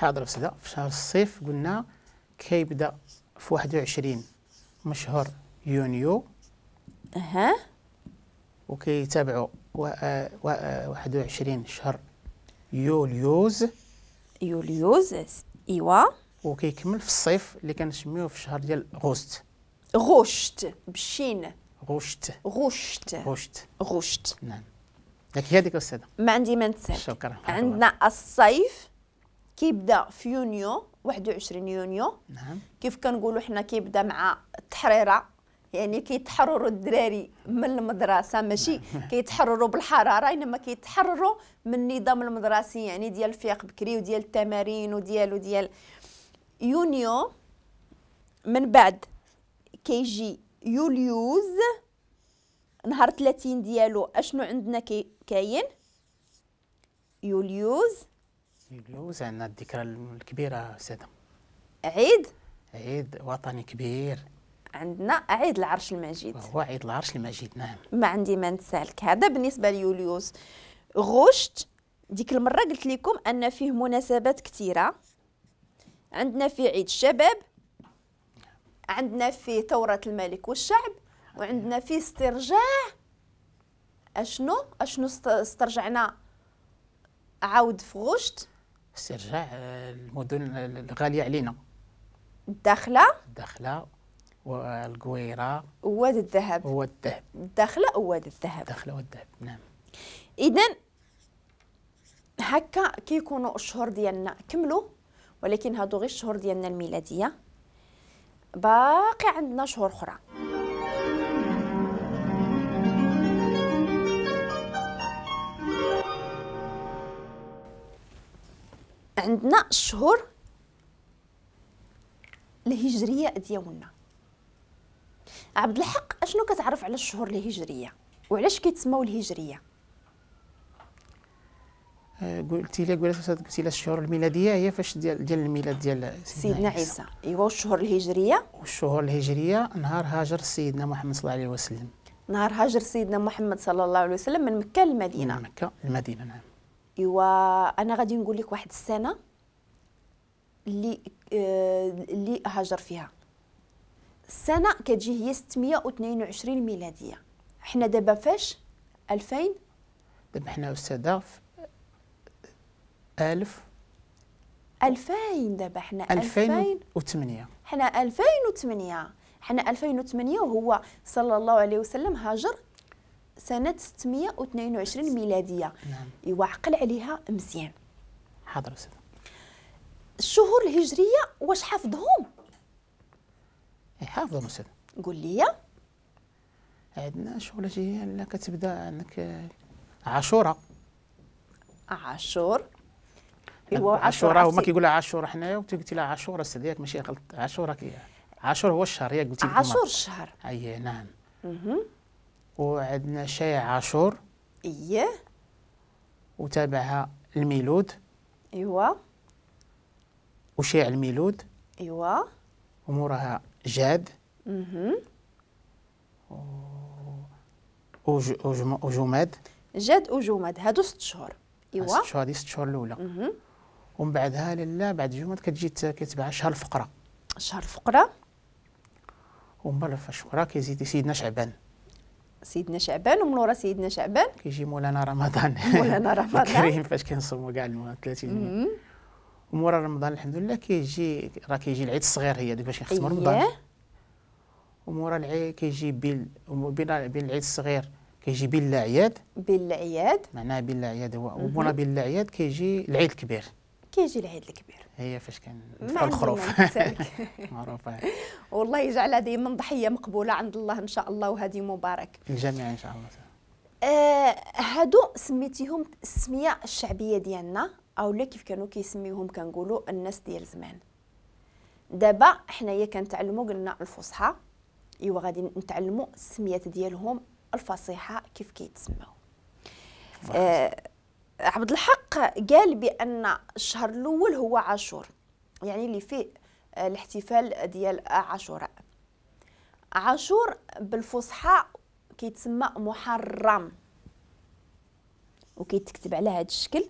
حاضر أستاذة. في شهر الصيف قلنا كيبدا في 21 من شهر يونيو. اها. وكيتابعوا 21 شهر يوليوز. يوليوز ايوا. وكيكمل في الصيف اللي كنسميوه في الشهر ديال غشت. غشت بالشين. غشت غشت غشت غشت. نعم. لك هي هذيك أستاذة. ما عندي ما نتسالك. شكرا. عندنا الصيف كيبدا في يونيو، 21 يونيو. نعم. كيف كنقولوا حنا كيبدا مع التحريره، يعني كيتحرروا الدراري من المدرسة، ماشي كيتحرروا بالحرارة، انما كيتحرروا من النظام المدرسي، يعني ديال الفياق بكري وديال التمارين وديال يونيو. من بعد كيجي يوليوز نهار 30 ديالو. اشنو عندنا كاين؟ يوليوز. يوليوز عندنا الذكرى الكبيرة أستاذة، عيد وطني كبير، عندنا عيد العرش المجيد. هو عيد العرش المجيد. نعم. ما عندي ما نتسالك. هذا بالنسبة ليوليوز. غشت ديك المرة قلت لكم أن فيه مناسبات كثيرة. عندنا فيه عيد الشباب، عندنا فيه ثورة الملك والشعب، وعندنا فيه استرجاع. اشنو استرجعنا عاود في غشت؟ استرجاع المدن الغالية علينا، الداخلة والقويرة وواد الذهب. وواد الذهب. الداخلة وواد الذهب. الداخلة والذهب. نعم. إذا هكا كيكونوا الشهور ديالنا كملوا، ولكن هادو غير الشهور ديالنا الميلادية، باقي عندنا شهور أخرى. عندنا الشهور الهجرية ديالنا. عبد الحق، اشنو كتعرف على الشهور الهجرية وعلاش كيتسموا الهجرية؟ قلتي لي الشهور الميلادية هي فاش ديال الميلاد ديال سيدنا عيسى. ايوا. والشهور الهجرية؟ والشهور الهجرية نهار هاجر سيدنا محمد صلى الله عليه وسلم. نهار هاجر سيدنا محمد صلى الله عليه وسلم من مكة للمدينة. من مكة للمدينة. نعم. ايوا انا غادي نقول لك واحد السنة اللي هاجر فيها. السنة كتجي هي 622 ميلادية. حنا دابا فاش 2000؟ دابا حنا أستاذة في 1000 2000. دابا حنا 2008. حنا 2008. حنا 2008 وهو صلى الله عليه وسلم هاجر سنة 622 ميلادية. نعم. إيوا عقل عليها مزيان. حاضر أستاذة. الشهور الهجرية واش حافظهم؟ حافظهم أستاذة. قول لي. عندنا الشهور الهجرية اللي كتبدا عندك عاشوراء. عاشور. ايوا عاشوراء، هما كيقولوا عاشوراء حنايا، وانت قلتي لها عاشوراء أستاذ، ياك ماشي غلط. عاشوراء عاشور هو الشهر، ياك قلتي عاشور الشهر. اي نعم. وعندنا شايع عاشور. اييه. وتابعها الميلود. ايوا. وشيع الميلود. ايوا. وموراها جاد. وجماد. جاد وجماد هادو 6 شهور. ايوا. 6 شهور، هادي 6 شهور الاولى. ومن بعدها لالا بعد جماد كتجي كيتبع شهر الفقرة. شهر الفقرة. ومن بعد الفقرة كيزيد سيدنا شعبان. سيدنا شعبان، ومن ورا سيدنا شعبان كيجي مولانا رمضان. مولانا رمضان الكريم فاش كنصوموا كاع 30 يوم. ومورا رمضان الحمد لله كيجي راه كيجي العيد الصغير، هي ديك باش نختموا رمضان. ومورا العيد كيجي بين العيد الصغير كيجي بين الأعياد. بين الأعياد معناها بين الأعياد هو. ومورا بين الأعياد كيجي العيد الكبير. كيجي العيد الكبير هي فاش كندفعوا الخروف معروفة. والله يجعلها دائما ضحية مقبولة عند الله ان شاء الله، وهذه مبارك الجميع ان شاء الله. هادو سميتيهم السمية الشعبية ديالنا، اولا كيف كانوا كيسميوهم كنقولوا الناس ديال زمان. دابا حنايا كنتعلموا قلنا الفصحى، ايوا غادي نتعلموا السميات ديالهم الفصيحة كيف كيتسماو. عبد الحق قال بان الشهر الاول هو عاشور، يعني اللي فيه الاحتفال ديال عاشوراء. عاشور بالفصحى كيتسمى محرم، وكيتكتب على هذا الشكل.